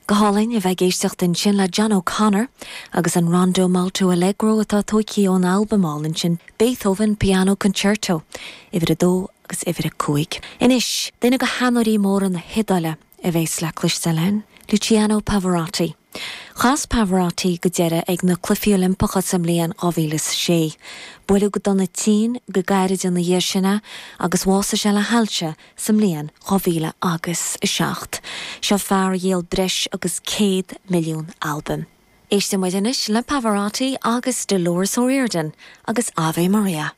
Go hálainn a bheith ag éisteacht ansin le John O'Conor agus an Rondo Molto Allegro atá tóigthe ón albam álainn sin Beethoven Piano Concerto, uimhir a dó agus uimhir a 5. Anois, duine de theanóirí móra na hIodáile a bhéas le cloisteáil againn, Luciano Pavarotti. Chas Pavarotti go deireadh ag na Cluichí Oilimpeacha sa mbliain 2006. Buaileadh go dona tinn go gairid ina dhiaidh sin é agus bhásaigh sé le hailse sa mbliain 2007. Seo fear a dhíol breis agus 100 milliún albam. Éistfidh muid anois le Pavarotti agus Dolores O'Riordan agus Ave Maria.